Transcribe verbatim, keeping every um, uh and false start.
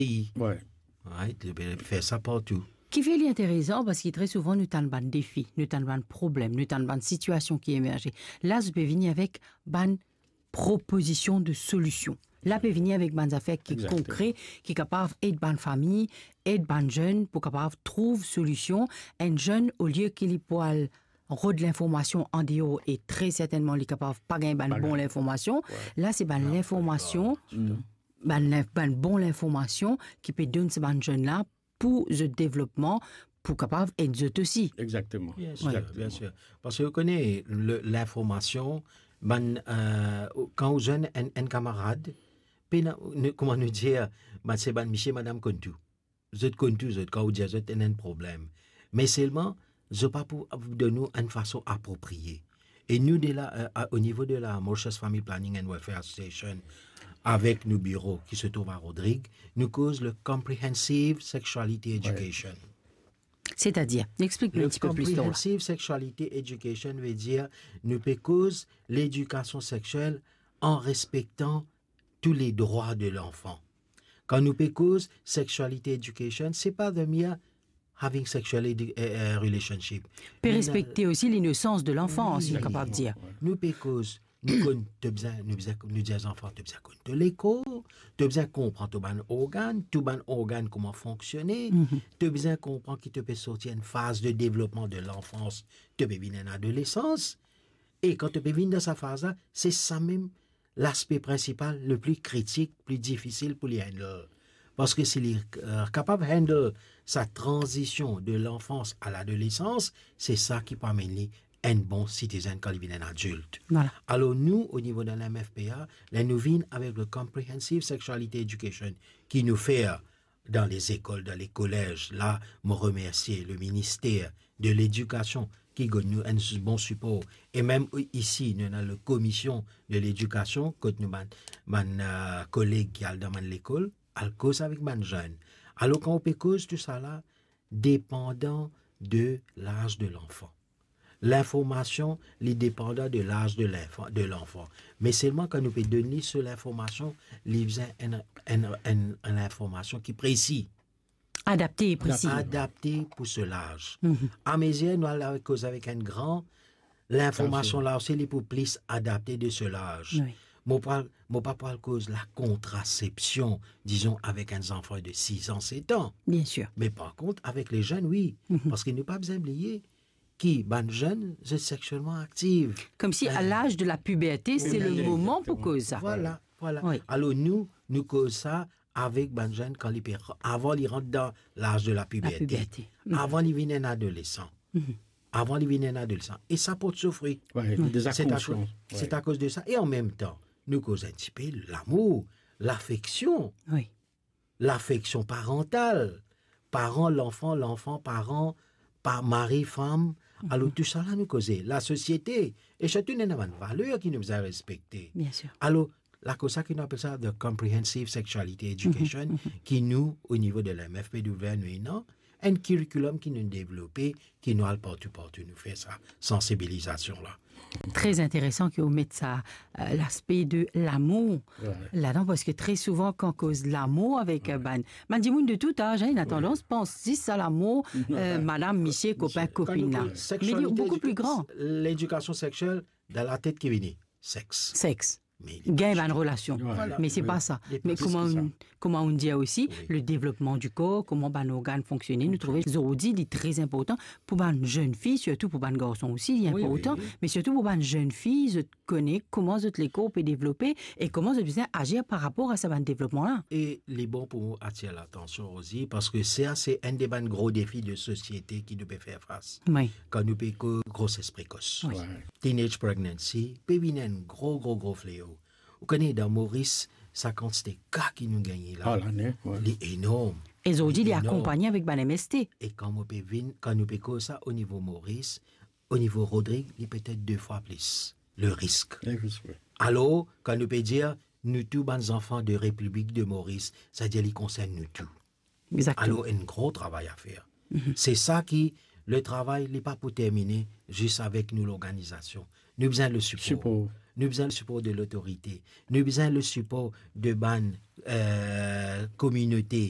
Wi. Right, li pe fer sa partou. Kifer li interesan, parski tre souvan nou tann bann defi, nou tann bann problem, nou tann bann sitiasion ki emerze. La, zot pe vini avek bann propozision de solision. La, pe vini avek bann zafer ki konkre, ki kapav ed bann fami, ed bann zenn pou kapav trouv solision. Enn zenn, olie ki li pou al rod linformasion andeor e tre sertennman li kapav pa gagn bann bon linformasion, la, se bann linformasion, bann, bann bon linformasion ki pe donn sa bann zenn la pou zot devlopman, pou kapav ed zot osi. Exakteman. Bien sir, bien sir. Parski ou kone, le, linformasion, bann, euh, kan ou zwenn enn, enn kamarad, pena, nou, kouma nou dir, bann, se bann misie, madam konn tou. Zot konn tou, zot, kan ou dir zot ena enn problem. Me selman, zot pa pou donn ou enn fason apropriye. E nou de la, euh, a, o nivo de la Mauritius Family Planning and Welfare Association, avek nou biro ki se trouv a Rodrig, nou koz le Comprehensive Sexuality Education. Setadir, explik nou enn tipe plis lor la. Comprehensive Sexuality Education ve dir nou pe koz ledikasion sexiel an respektan tous les droits de l'enfant. Kan nou pe koz sexuality education, se pa the mere having sexual edu-, eh, eh, relationship. Pe respekte osi linosans de lanfans, nou kapav dir. Nou pe koz, nou konn, to bizin, nou bizin, nou dir zanfan, to bizin konn to lekor, to bizin konpran to bann organ, tou bann organ kouma fonksione, to bizin konpran ki to pe sorti enn faz de devlopman de lanfans, to pe vinn enn adolesans, e kan to pe vinn dan sa faz la, se sa mem laspe prinsipal, le pli kritik, pli difisil pou li handle. Parski si li, euh, kapav handle sa tranzision de lanfans a ladolesans, se sa ki pou amenn li enn bon sitizenn kan li vinn enn adilt. Vwala. Alor nou, o nivo de la M F P A, ler nou vinn avek le Comprehensive Sexuality Education ki nou fer dan lezekol, dan lekolez, la, mo remersie le minister de Ledikasion ki donn nou enn bon sipor. E mem isi, nou ena le Komision de Ledikasion, kot nou bann, bann, euh, koleg ki al dan bann lekol, al koz avek bann zenn. Alor, kan ou pe koz tousala, depandan de laz de lanfan. Linformasion, li depandan de laz de linfan, de lanfan. Me selman kan nou pe donn li so linformasion, li bizin enn, enn, enn, enn linformasion ki presi. Adapte e presi. Adapte pou so laz. Amezir nou al koz avek enn gran, linformasion la osi li pou plis adapte de so laz. Wi. Mo pa, mo pa pou al koz lakontrasepsion, dizon, avek enn zanfan de siz an, set an. Bien sir. Me par kont, avek le zenn, wi. Parski nou pa bizin bliye ki bann zenn, zot sexielman aktiv. Koumsi a laz de la piberte, se le moman pou koz sa. Vwala, vwala. Wi. Alor nou, nou koz sa avek bann zenn kan li pe, avan li rant dan laz de la piberte. La piberte. Avan li vinn enn adolesan. Avan li vinn enn adolesan. E sa port so fri. Wi, li deza konsian. Se akoz, se akoz de sa. E an mem tan, nou koz enn tipe lamour, lafeksion. Wi. Lafeksion parantal, paran, lanfan, lanfan, paran, pa-, mari, fam. Alor, tousala nou koze, lasosiete, e sirtou nou ena bann valer ki nou bizin respekte. Bien sir. Alor, lakoz sa ki nou apel sa the Comprehensive Sexuality Education, ki nou, o nivo de la M F P W, nou ena enn kirikulom ki nou devlope, ki nou al partou, partou, nou fer sa sansibilizasion la. Tre interesan ki ou met sa, euh, laspe de lamour ladan, parski tre souvan kan koz lamour avek, euh, bann, bann dimoun de tou az, hein, ena tandans pans zis a lamour, euh, madam, misie, kopin, kopinn la. Me li boukou pli gran. Ledikasion sexiel, dan latet ki vini, sex. Sex. Gagn bann relasion. Vwala. Me se pa sa. Me kouma ou, kouma ou dir osi, le devlopman di kor, kouma bann organ fonksione, nou trouve zordi li tre inportan pou bann zenn fi, sirtou pou bann garson osi, li inportan, me sirtou pou bann zenn fi, zot kone kouma zot lekor pe devlope e kouma zot bizin azir par rapor a sa bann devlopman la. E li bon pou atir latansion osi, parski sa se enn de bann gro defi de sosiete ki nou pe fer fas. Wi. Kan nou pe koz groses prekos. Wi. Teenage pregnancy pe vinn enn gro, gro, gro fleo. Ou kone, dan Moris, sa kantite ka ki nou gagne la, li enorm. E zordi, li akonpagne avek bann M S T. E kan mo pe vinn, kan nou pe koz sa o nivo Moris, o nivo Rodrig, li petet de fwa plis, le risk. Le risk, wi. Alor, kan nou pe dir, nou tou bann zanfan de Repiblik de Moris, savedir li konsern nou tou. Exactement. Alor, enn gro travay a fer. Se sa ki, le travay, li pa pou termine zis avek nou lorganizasion. Nou bizin le sipor. Sipor. Nou bizin le sipor de lotorite. Nou bizin le sipor de bann, eh, kominote,